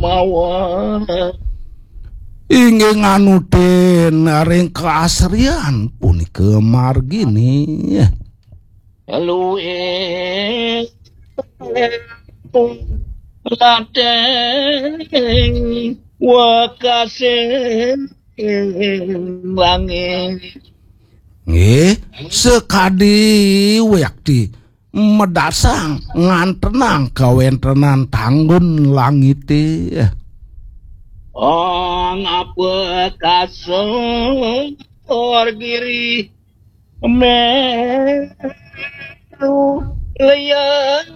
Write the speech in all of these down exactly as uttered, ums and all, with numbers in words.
Mawa. Inggih nganutin ring kaasrian punika margine. Luwih lateng wekasin langit. Nggih, sakadi wiakti medasang ngantenang kawentenan tanggun langite. Ong apa kasor giri meru liyan.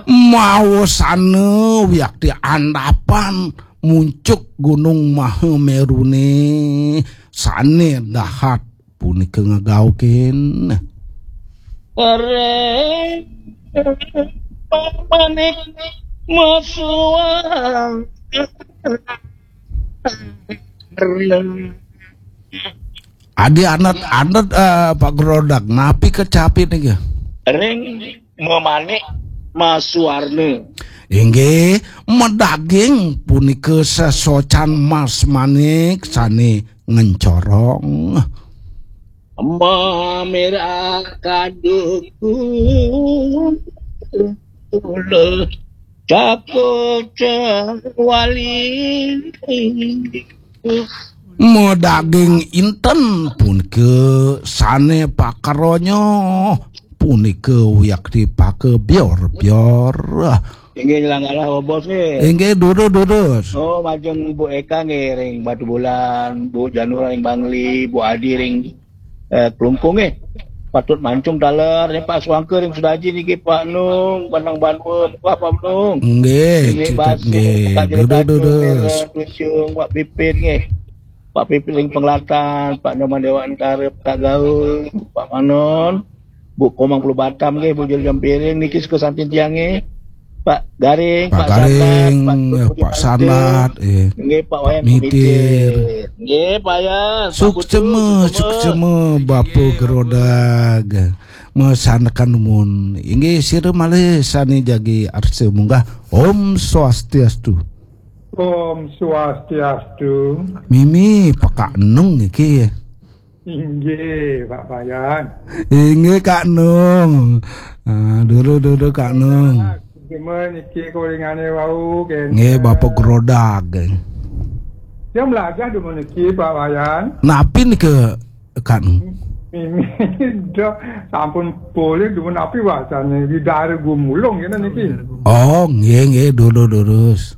Mawasana wiakti andapan muncuk Gunung Mahamerune sane dahat punika ngagaukin. Ring pamanik masuang. Adi anet-anet, eh, Pak Grodak, napi kecapi niki? Ring memanik masuarna. Inggih, medaging punika sesocan mas manik sane ngencorong. Mamerah kadungku cakut wali. Medaging inten punika sane pakaronya punika wiakti paka bior-bior. Inggih, nyelang galah, Bos, nggih. Inggih, durus, durus. Oh, majeng Bu Eka nggih ring Batubulan, Bu Janur ring Bangli, Bu Adi ring, eh, Klungkung nggih. Patut mancung taler nih Pak Suangke ring Sudaji niki Pak Nung, Banang Banua, Pak Nung. Nggih, Nggih, cekap Bas, nggih. Pak Durus, Jelita durus. Nggih, Pak Pipit nggih. Pak Pipit ring Penglatan, Pak Nyoman Dewa Antara, Pak Gaul, Pak Manon, Bu Komang Pulu Batam nggih, Bu Jul Jampiring niki suka santin tiang nggih. Pak Garing, Pak Pak Garing, Sandat, Pak Budi Pak Sandat, eh, nggih, Pak Wayan Mitir. Mitir. Nggih, Pak Yan, Pak Putu, suksema, suksema. Suksema, Bapa Nggih, Gerodag. Mesanekan numun. Inggih, sira malih sane jagi arsa munggah. Om Swastiastu. Om Swastiastu. Mimi, Pak Nung niki. Inggih, Pak Wayan. Inggih, Kak Nung. Ah, dulu, dulu, Kak Nung. Cuma niki kolingane wau, kene. Nggih, Bapak Grodag. Dia melajah dulu niki, Pak Wayan. Napi nika, Kak Nung? Mimi, dah sampun polih dulu napi wacane di daerah Gumulung, kene niki. Oh, nggih, nggih, dulu, durus.